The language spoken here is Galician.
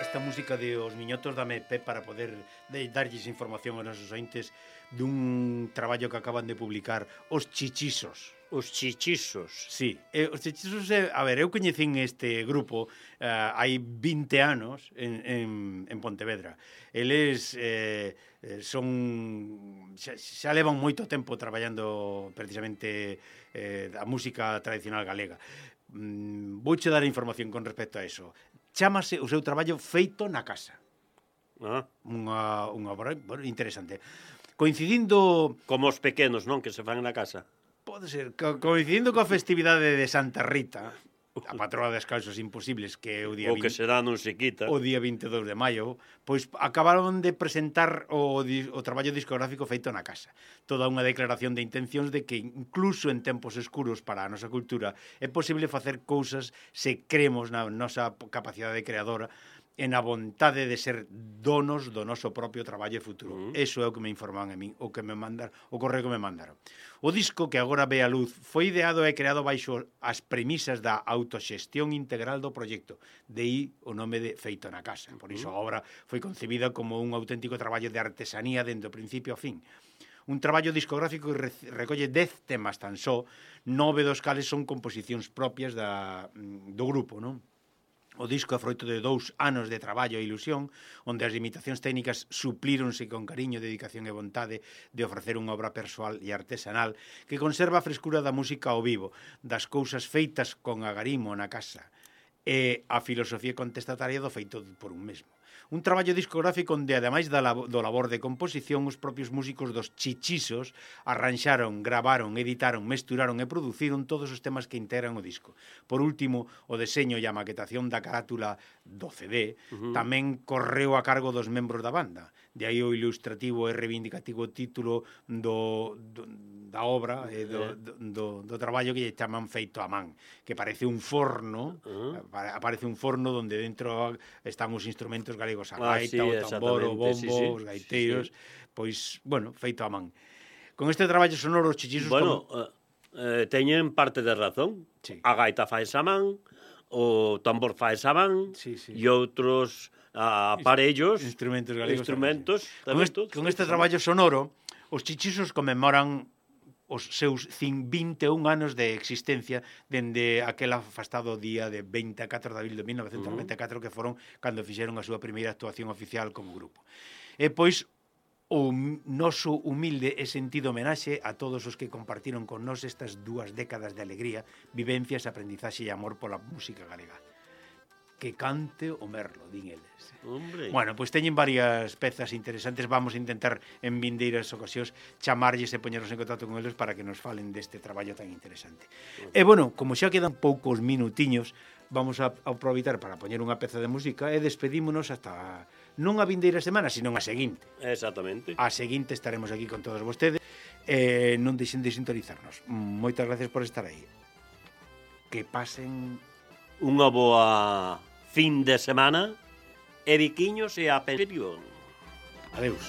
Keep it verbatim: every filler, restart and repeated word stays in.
esta música de Os Miñotos dame pé para poder de, darlles información aos nosos ointes dun traballo que acaban de publicar Os Chichisos. Os Chichisos. Sí, eh, os Chichisos, eh, a ver, eu coñecín este grupo eh, hai vinte anos en, en, en Pontevedra. Eles eh, son xa, xa levan moito tempo traballando precisamente eh, a música tradicional galega. Mm, vouche dar información con respecto a eso. Chámase o seu traballo Feito na Casa. Ah. Unha, unha obra bueno, interesante. Coincidindo... Como os pequenos, non? Que se fan na casa. Pode ser. Co coincidindo coa festividade de Santa Rita, a patroa das causas imposibles, que é o día o que será non se quita. O día vinte e dous de maio, pois acabaron de presentar o, o traballo discográfico Feito na Casa. Toda unha declaración de intencións de que incluso en tempos escuros para a nosa cultura é posible facer cousas se cremos na nosa capacidade creadora e na vontade de ser donos do noso propio traballo e futuro. Mm. Eso é o que me informan a min, o que me mandar, o correo que me mandaron. O disco que agora ve a luz foi ideado e creado baixo as premisas da autoxestión integral do proxecto. De aí o nome de Feito na Casa. Por iso a obra foi concebida como un auténtico traballo de artesanía dende o principio ao fin. Un traballo discográfico que recolle dez temas tan só, nove dos cales son composicións propias da, do grupo, non? O disco é froito de dous anos de traballo e ilusión, onde as limitacións técnicas suplíronse con cariño, dedicación e vontade de ofrecer unha obra persoal e artesanal que conserva a frescura da música ao vivo, das cousas feitas con agarimo na casa e a filosofía contestataria do feito por un mesmo. Un traballo discográfico onde, ademais da labo, do labor de composición, os propios músicos dos Chichisos arranxaron, gravaron, editaron, mesturaron e produciron todos os temas que integran o disco. Por último, o deseño e a maquetación da carátula do C D uh-huh. tamén correu a cargo dos membros da banda. De aí o ilustrativo e reivindicativo título do, do, da obra, eh, do, do, do, do traballo que lle chaman Feito a man, que parece un forno, uh-huh. aparece un forno onde dentro están os instrumentos galegos, a gaita, ah, sí, o tambor, o bombo, sí, sí, os gaiteiros, sí, sí. Pois, bueno, feito a man. Con este traballo sonoro, os Chichisos... Bueno, como... eh, teñen parte de razón. Sí. A gaita faes a man, o tambor faes a man, sí, sí. E outros a aparellos, instrumentos galegos. Instrumentos, con, est con este traballo sonoro, os Chichisos conmemoran os seus vinte e un anos de existencia dende aquel afastado día de vinte e catro de abril de mil novecentos noventa e catro, uh -huh. que foron cando fixeron a súa primeira actuación oficial como grupo. E pois o noso humilde e sentido homenaxe a todos os que compartiron con nós estas dúas décadas de alegría, vivencias, aprendizaxe e amor pola música galega. Que cante o merlo, din eles. Hombre. Bueno, pois pues teñen varias pezas interesantes. Vamos a intentar en vindeiras ocasións chamarlles e poñernos en contacto con eles para que nos falen deste traballo tan interesante. Okay. E bueno, como xa quedan poucos minutiños, vamos a aproveitar para poñer unha peza de música e despedímonos hasta non a vindeira semana, sino a seguinte. Exactamente. A seguinte estaremos aquí con todos vostedes. Eh, non deixen de sintonizarnos. Moitas gracias por estar aí. Que pasen unha boa fin de semana e biquiños e a pensión. Adeus.